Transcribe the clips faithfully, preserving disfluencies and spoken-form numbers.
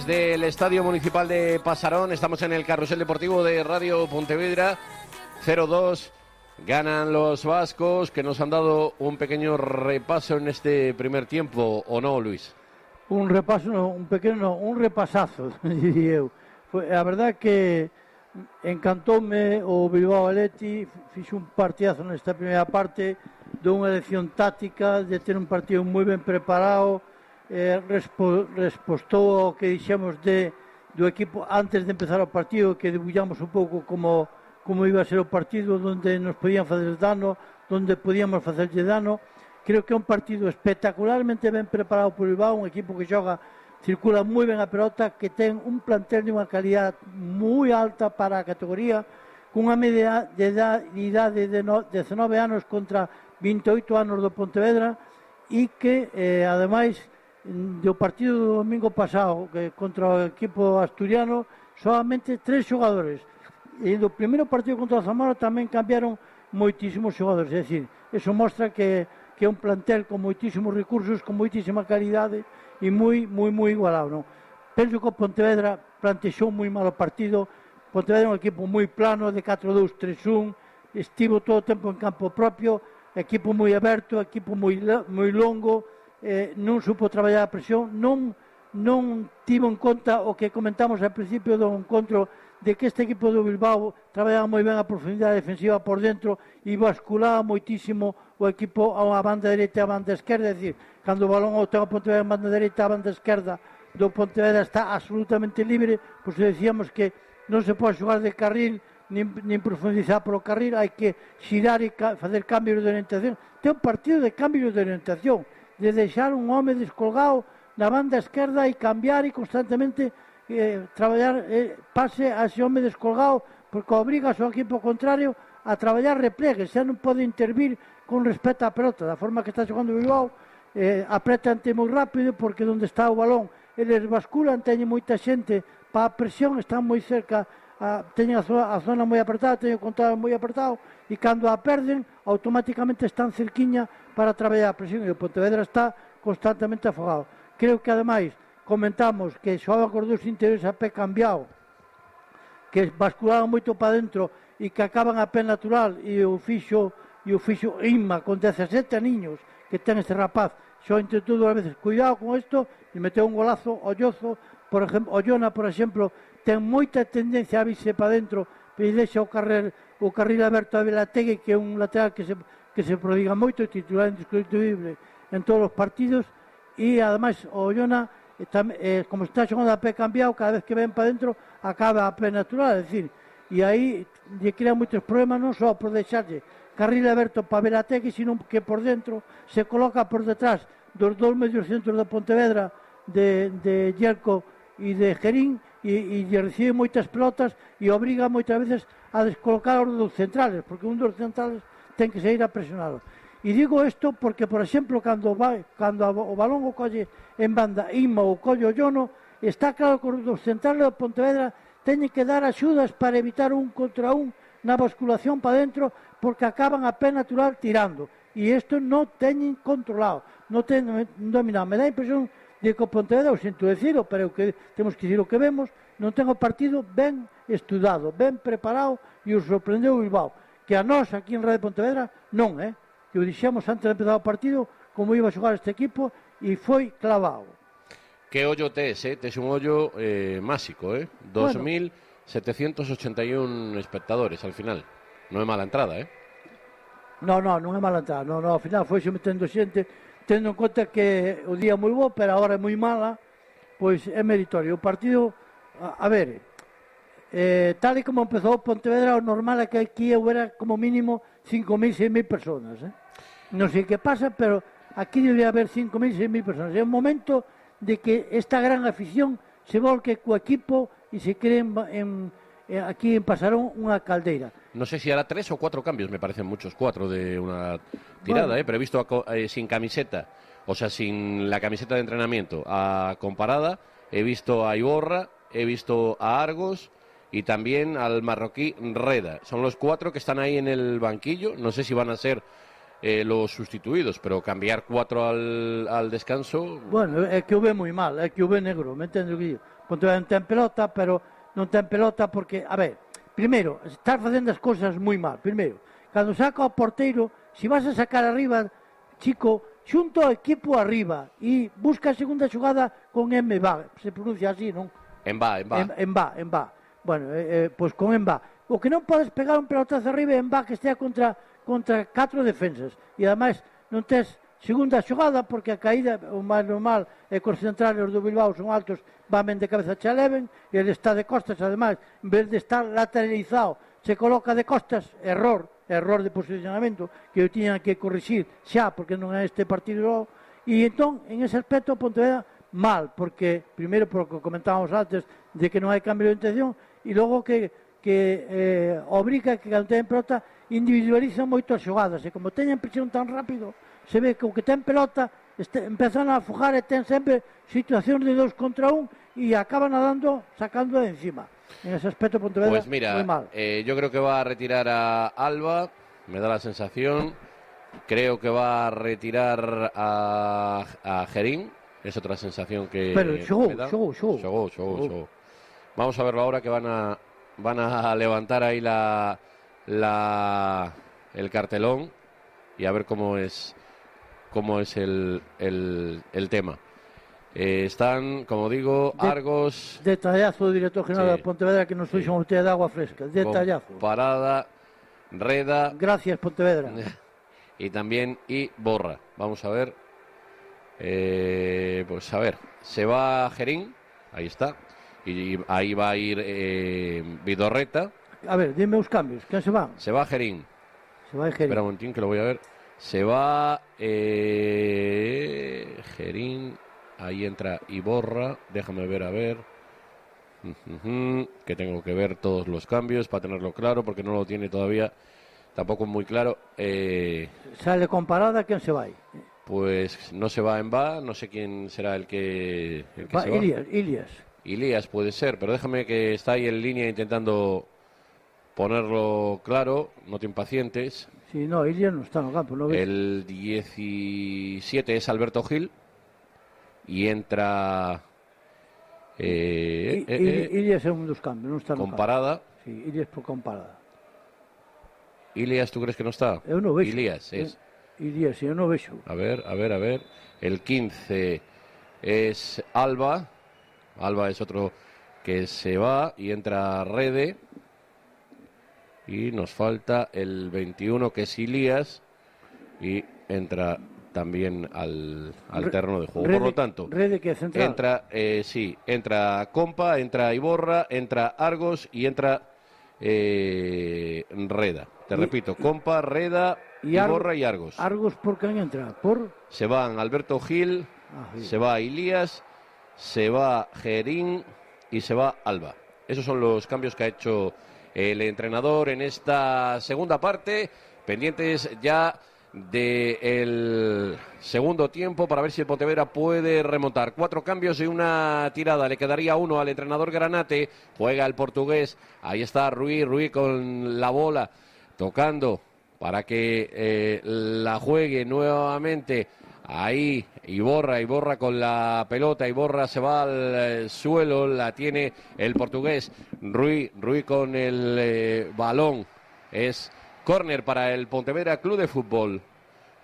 Desde el Estadio Municipal de Pasarón, estamos en el Carrusel Deportivo de Radio Pontevedra. Cero dos, ganan los vascos, que nos han dado un pequeño repaso en este primer tiempo, ¿o no, Luis? Un repaso, no, un pequeno, no, un repasazo, diría eu. Foi, a verdade que encantoume o Bilbao Athletic, fixo un partidazo nesta primeira parte, dunha elección táctica, de ter un partido moi ben preparado, eh, respo, respostou ao que dixemos de, do equipo antes de empezar o partido, que debullamos un pouco como, como iba a ser o partido, onde nos podían fazer dano, onde podíamos facerlle dano. Creo que é un partido espectacularmente ben preparado por Bilbao, un equipo que xoga, circula moi ben a pelota, que ten un plantel de unha calidad moi alta para a categoría, cunha media de idade de dezanove anos contra vinte e oito anos do Pontevedra, e que, eh, ademais, do partido do domingo pasado que contra o equipo asturiano, solamente tres xogadores, e do primeiro partido contra o Zamora tamén cambiaron moitísimos xogadores. É dicir, eso mostra que, que é un plantel con moitísimos recursos, con moitísima calidade e moi, moi, moi igualado, non? Penso que o Pontevedra plantexou moi mal o partido. Pontevedra é un equipo moi plano, de catro dous tres un, estivo todo o tempo en campo propio, equipo moi aberto, equipo moi, moi longo, eh, non supo traballar a presión, non, non tivo en conta o que comentamos ao principio do encontro, de que este equipo do Bilbao traballaba moi ben a profundidade defensiva por dentro e basculaba moitísimo o equipo a banda dereita e a banda esquerda. É dicir, cando o balón o ten o Pontevedra a banda dereita, a banda esquerda do Pontevedra está absolutamente libre, pois decíamos que non se pode xogar de carril nin, nin profundizar polo carril, hai que xirar e ca facer cambios de orientación. Ten un partido de cambios de orientación, de deixar un home descolgado na banda esquerda e cambiar e constantemente eh, traballar eh, pase a ese home descolgado, porque obriga ao seu equipo contrario a traballar replegue, xa non pode intervir con respecto á pelota, da forma que está xogando o Bilbao, eh, apretan-te moi rápido, porque onde está o balón eles basculan, teñen moita xente para a presión, están moi cerca, a, teñen a zona, a zona moi apertada, teñen o control moi apertado, e cando a perden, automáticamente están cerquiña para traballar a presión, e o Pontevedra está constantemente afogado. Creo que, ademais, comentamos que xogaban con os dous interiores a pé cambiado, que basculaban moito para dentro e que acaban a pé natural, e o fixo, e o fixo Inma, con dezasete aniños que ten este rapaz, xo intentou dúas veces, cuidado con isto, e meteu un golazo o Llozo, por exemplo, o Llona, por exemplo, ten moita tendencia a virse para dentro, e deixa o carril, o carril aberto a Velategui, que é un lateral que se, que se prodiga moito, titular indiscutible en todos os partidos, e ademais o Llona, eh, como está xogando a pé cambiado, cada vez que ven para dentro acaba a pé natural, é dicir, e aí lle crea moitos problemas, non só por deixarlle carril aberto para Velategui, sino que por dentro se coloca por detrás dos dous medios centros da Pontevedra, de, de Yerko e de Gerín, e, e lle recibe moitas pelotas e obriga moitas veces a descolocar os dos centrales, porque un dos centrales ten que sair a presionarlo. E digo isto porque, por exemplo, cando, vai, cando o balón o colle en banda Inma ou colle o Llono, está claro que os dos centrales do Pontevedra teñen que dar axudas para evitar un contra un na basculación para dentro, porque acaban a pé natural tirando, e isto non teñen controlado, non teñen dominado. Me dá a impresión de que o Pontevedra, o sinto decirlo, pero que temos que dicir o que vemos, non ten o partido ben estudado, ben preparado, e o sorprendeu o Bilbao, que a nós aquí en Radio Pontevedra non, eh? Que o dixemos antes de empezar o partido como iba a xogar este equipo, e foi clavado. Que ollo tes, eh? Tes un ollo eh, máxico, eh? dos mil setecientos ochenta y un espectadores al final. Non é mala entrada, eh? Non, non, non é mala entrada, non, non, ao final foi metendo xente, tendo en conta que o día é moi bo, pero agora é moi mala, pois é meritorio. O partido, a, a ver, eh, tal e como empezou o Pontevedra, o normal é que aquí houbera como mínimo cinco mil, seis mil personas, eh? Non sei que pasa, pero aquí debe haber cinco mil, seis mil personas. É un momento de que esta gran afición se volque co equipo e se cree en, en, aquí en Pasarón unha caldeira. No sé si hará tres o cuatro cambios, me parecen muchos, cuatro de una tirada, bueno. eh, pero he visto a, eh, sin camiseta, o sea, sin la camiseta de entrenamiento, a Comparada, he visto a Iborra, he visto a Argos y también al marroquí Reda. Son los cuatro que están ahí en el banquillo, no sé si van a ser eh, los sustituidos, pero cambiar cuatro al, al descanso... Bueno, é que o ve moi mal, é que o ve negro, me entendo que digo. Pontevedra non ten pelota, pero non ten pelota porque, a ver, primeiro, estás facendo as cousas moi mal. Primeiro, cando saca o porteiro, se vas a sacar arriba, chico, xunto ao equipo arriba e busca a segunda xogada con M V A, se pronuncia así, non? En va, en va. En, en va, en va. Bueno, eh, eh, pois con en va. O que non podes pegar un pelotazo arriba en va que estea contra contra catro defensas. E ademais non tes segunda xogada porque a caída, o máis normal é que os centrales do Bilbao son altos, van ben de cabeza che leven, e ele está de costas, ademais, en vez de estar lateralizado, se coloca de costas, error, error de posicionamento, que eu tiña que corrixir xa, porque non é este partido. E entón, en ese aspecto, Pontevedra, mal, porque, primeiro, porque comentábamos antes, de que non hai cambio de intención, e logo que, que eh, obriga que cando ten pelota individualizan moito as xogadas, e como teñen presión tan rápido, se ve que o que ten pelota este, empezan a afogar e ten sempre situacións de dos contra un e acaban nadando sacando de encima. En ese aspecto Pontevedra pues mira, muy mal. Eh, yo creo que va a retirar a Alba, me da la sensación. Creo que va a retirar a, a Gerín, es otra sensación que Pero xogou, me da. xogou, xogou. Xogou, xogou, xogou. Vamos a verlo ahora que van a van a levantar ahí la la el cartelón y a ver cómo es cómo es el, el, el tema. Eh, están, como digo, de, Argos... Detallazo do director general sí, de Pontevedra que nos fixo sí. unha botella de agua fresca. Detallazo. Parada, Reda... Gracias, Pontevedra. Y también y Borra. Vamos a ver. Eh, pues a ver. Se va Gerín. Ahí está. Y ahí va a ir eh, Vidorreta. A ver, dime os cambios. ¿Quién se van? Se va Gerín. Se va Gerín. Espera un momentín que lo voy a ver. Se va eh, Gerín. Ahí entra Iborra. Déjame ver, a ver. Uh-huh, que tengo que ver todos los cambios para tenerlo claro, porque no lo tiene todavía tampoco muy claro. Eh, ¿Sale con Parada? ¿Quién se va ahí? Pues no se va en va. No sé quién será el que, el que va, se va. Ilias, Ilias. Ilias puede ser, pero déjame que está ahí en línea intentando ponerlo claro. No te impacientes. Sí, no, Ilias no está en el campo. ¿No ves? El diecisiete es Alberto Gil. Y entra eh, I, eh, I, eh, Ilias es un dos cambios, no está con Parada. Sí, Ilias por comparada. Ilias, ¿tú crees que no está? Eu non vexo. Ilias es. Ilias, eu non vexo. A ver, a ver, a ver. El quince es Alba. Alba es otro que se va y entra Rede. Y nos falta el veintiuno que es Ilias. Y entra también al, al terreno de juego. Rede, por lo tanto, Rede que central. entra, eh, sí, entra Compa, entra Iborra, entra Argos y entra eh, Reda. Te y, repito, Compa, Reda, y Iborra Ar y Argos. Argos, ¿por quién entra? ¿Por? Se van Alberto Gil, ah, sí. se va Ilías, se va Gerín y se va Alba. Esos son los cambios que ha hecho el entrenador en esta segunda parte. Pendientes ya del segundo tiempo para ver si el Pontevedra puede remontar. Cuatro cambios y una tirada. Le quedaría uno al entrenador Granate. Juega el portugués. Ahí está Ruiz. Ruiz con la bola tocando para que eh, la juegue nuevamente. Ahí Iborra, Iborra con la pelota, Iborra se va al eh, suelo, la tiene el portugués. Ruiz, Ruiz con el eh, balón. Es córner para el Pontevedra Club de Fútbol.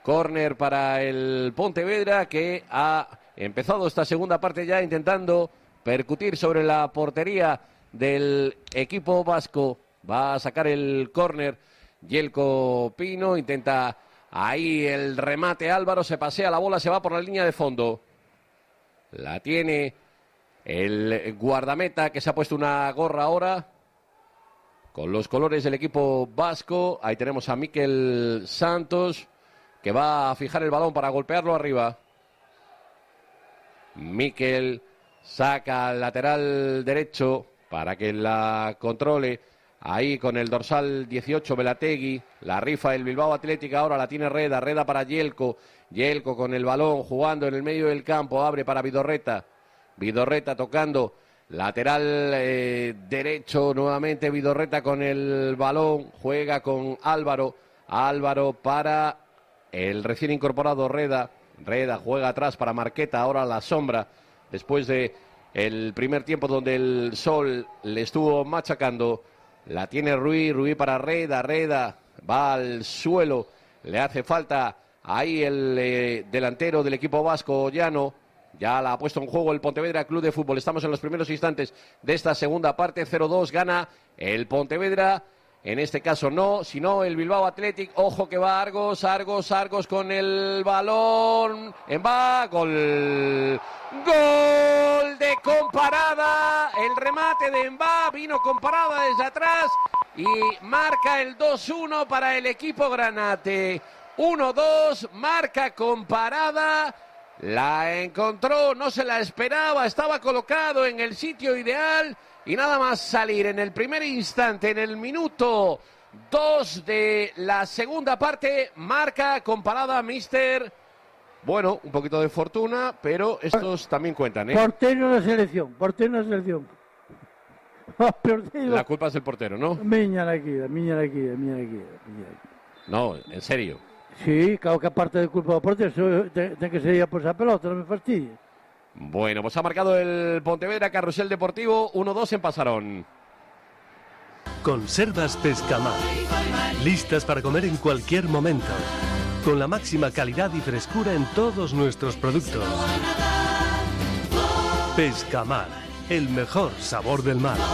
Córner para el Pontevedra que ha empezado esta segunda parte ya intentando percutir sobre la portería del equipo vasco. Va a sacar el córner Yelko Pino, intenta ahí el remate Álvaro, se pasea la bola, se va por la línea de fondo. La tiene el guardameta que se ha puesto una gorra ahora con los colores del equipo vasco. Ahí tenemos a Mikel Santos, que va a fijar el balón para golpearlo arriba. Mikel saca al lateral derecho para que la controle. Ahí con el dorsal dieciocho Belategui. La rifa el Bilbao Atlética. Ahora la tiene Reda. Reda para Yelko. Yelko con el balón jugando en el medio del campo. Abre para Vidorreta. Vidorreta tocando. Lateral eh, derecho nuevamente Vidorreta con el balón, juega con Álvaro, Álvaro para el recién incorporado Reda, Reda juega atrás para Marqueta, ahora la sombra, después de el primer tiempo donde el Sol le estuvo machacando. La tiene Ruiz, Ruiz para Reda, Reda va al suelo, le hace falta ahí el eh, delantero del equipo vasco, Llano. Ya la ha puesto en juego el Pontevedra Club de Fútbol. Estamos en los primeros instantes de esta segunda parte. cero dos gana el Pontevedra. En este caso no, sino el Bilbao Athletic. Ojo que va Argos, Argos, Argos con el balón. En va, gol. Gol de Comparada. El remate de Enva vino Comparada desde atrás y marca el dos uno para el equipo granate. uno dos, marca Comparada. La encontró, no se la esperaba, estaba colocado en el sitio ideal y nada más salir en el primer instante, en el minuto dos de la segunda parte, marca Comparada, mister. Bueno, un poquito de fortuna, pero estos también cuentan, ¿eh? Portero de selección, portero de selección. La culpa es del portero, ¿no? Miña la quida, miña la quida, miña la quida, miña la quida. No, en serio. Sí, claro que aparte de culpa del portero, tiene que ser ya por esa pelota, no me fastidie. Bueno, pues ha marcado el Pontevedra Carrusel Deportivo, uno dos en Pasarón. Conservas Pescamar, listas para comer en cualquier momento, con la máxima calidad y frescura en todos nuestros productos. Pescamar, el mejor sabor del mar.